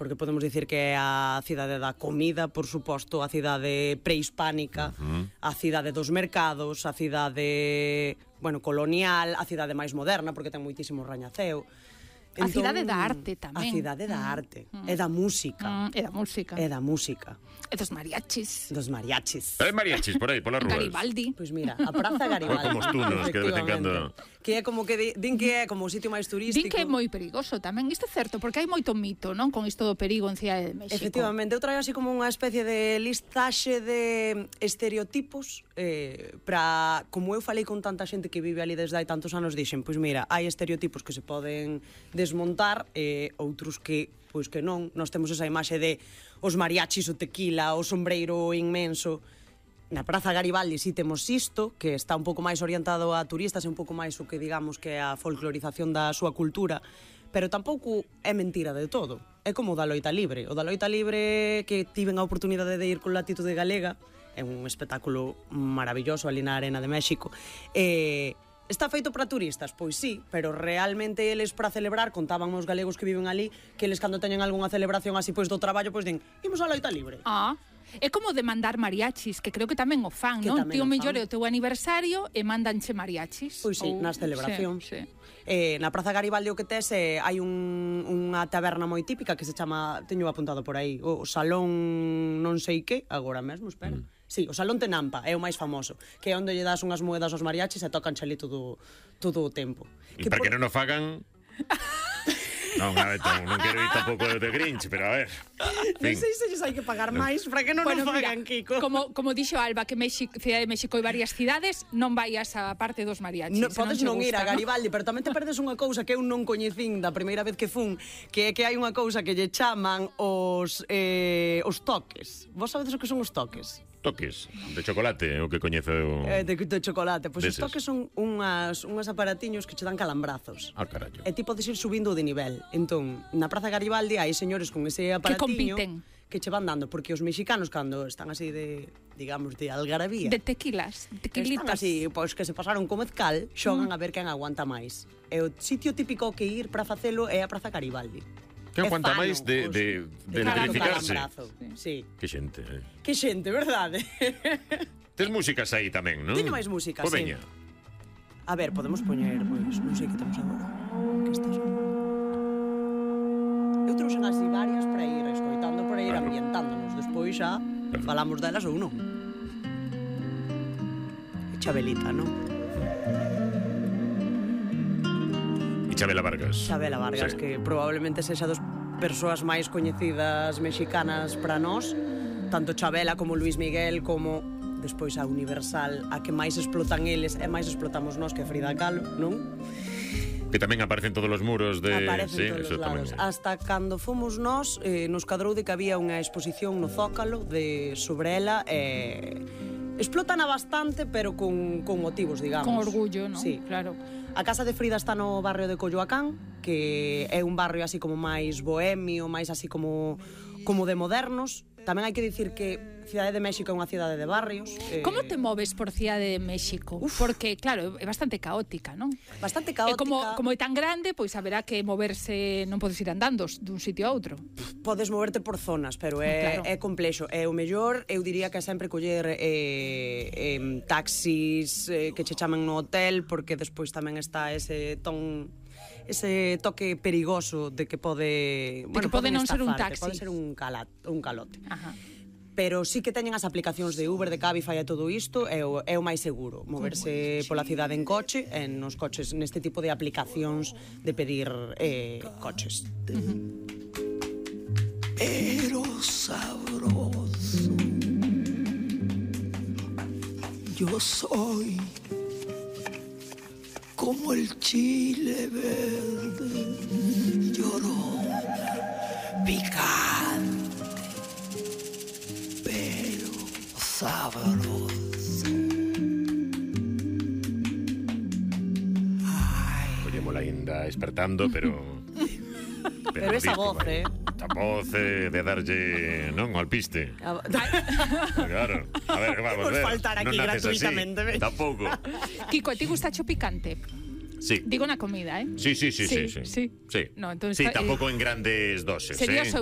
porque podemos dicir que é a cidade da comida, por suposto, a cidade prehispánica, a cidade dos mercados, a cidade, colonial, a cidade máis moderna, porque ten moitísimo rañaceo. A cidade da arte tamén. A cidade da arte. E da música. E da música. E da música. E dos mariachis. Dos mariachis. Hai mariachis por aí, polas rúas. Garibaldi. Pois mira, a Praza Garibaldi. Como os túneles que de vez en cando... Que é como que din que é como o sitio máis turístico. Din que é moi perigoso tamén. Isto é certo, porque hai moito mito, non? Con isto do perigo en Cidade de México. Efectivamente, eu traio así como unha especie de listaxe de estereotipos para, como eu falei con tanta xente que vive ali desde hai tantos anos, dixen, pois mira, hai estereotipos que se poden desmontar, outros que pois que non. Nós temos esa imaxe de os mariachis, o tequila, o sombreiro inmenso. Na Praza Garibaldi si temos isto, que está un pouco máis orientado a turistas, e un pouco máis o que digamos que é a folclorización da súa cultura, pero tampouco é mentira de todo. É como o da Loita Libre. O da Loita Libre, que tiven a oportunidade de ir con Latitude Galega, é un espectáculo maravilloso ali na Arena de México, está feito para turistas? Pois sí, pero realmente eles para celebrar, contaban os galegos que viven ali, que eles cando teñen algunha celebración así pois do traballo, pois din, imos a Loita Libre. É como demandar mariachis, que creo que tamén o fan, non? Tío mellor é o teu aniversario e mandanche mariachis. Pois sí, nas celebracións. Sí. Na Praza Garibaldi o que tes hai unha taberna moi típica que se chama, teño apuntado por aí, o Salón non sei que, agora mesmo, espera. Sí, o Salón Tenampa é o máis famoso, que é onde lle das unhas moedas aos mariachis e tocan ali todo o tempo. E para que non o fagan... Non, a ver, non quero ir tampouco de Grinch, pero a ver. Non sei se hai que pagar máis para que non nos fagan, Kiko. Como dixo Alba, que Cidade de México hai varias cidades, non vaias a parte dos mariachis. Podes non ir a Garibaldi, pero tamén te perdes unha cousa que eu non coñecín da primeira vez que fun, que é que hai unha cousa que lle chaman os toques. Vos sabedes o que son os toques? Toques de chocolate, o que coñezo de chocolate. Pois os toques son unhas aparatiños que che dan calambrazos. Carallo. E ti podes ir subindo de nivel. Entón, na Praza Garibaldi hai señores con ese aparatiño que che van dando, porque os mexicanos cando están así de, digamos, de algarabía, de tequilitas, están así, pois que se pasaron co mezcal, xogan a ver quen aguanta máis. E o sitio típico que ir para facelo é a Praza Garibaldi. Que aguanta máis de electrificarse. Sí. Que xente, Que xente, verdade? Tes músicas aí tamén, non? Teño máis músicas, sí. Veña. A ver, podemos poñer, pois, non sei que temos agora. Que está sonando? Eu trouxen así varias para ir escoitando, para ir ambientándonos. Despois xa falamos delas ou non. E Chabelita, non? Chabela Vargas. Chabela Vargas, sí. Que probablemente sexa dos persoas máis coñecidas mexicanas para nós, tanto Chabela como Luis Miguel, como despois a Universal, a que máis explotan eles e máis explotamos nós, que Frida Kahlo, non? Que tamén aparecen todos os muros de... Aparecen todos os lados. Hasta cando fomos nós, nos cadrou de que había unha exposición no Zócalo sobre ela, explótana bastante, pero con motivos, digamos. Con orgullo, non? Sí. Claro. A casa de Frida está no barrio de Coyoacán, que é un barrio así como máis bohemio, máis así como de modernos. Tamén hai que dicir que Cidade de México é unha cidade de barrios. Como te moves por Cidade de México? Porque, claro, é bastante caótica, non? Bastante caótica. Como é tan grande, pois haberá que moverse, non podes ir andando dun sitio a outro. Podes moverte por zonas, pero é complexo. É o mellor, eu diría que é sempre coller taxis que che chamen no hotel, porque despois tamén está ese toque perigoso de que pode... Que pode non ser un taxi. Pode ser un calote. Ajá. Pero sí que teñen as aplicacións de Uber, de Cabify e todo isto, é o máis seguro. Moverse pola cidade en coche, nos coches, neste tipo de aplicacións de pedir coches. Pero sabroso, yo soy como el chile verde, llorón, picante, pero sabroso. Oye, Molainda despertando, pero esa voz, esa voz de darlle, non, ao alpiste. Claro. A ver, vamos ver. Faltar aquí non naces gratuitamente. Así, tampouco. Kiko, ti gustacho picante? Sí. Digo na comida, Sí. No, entonces, sí, tampouco en grandes doses. Sería o seu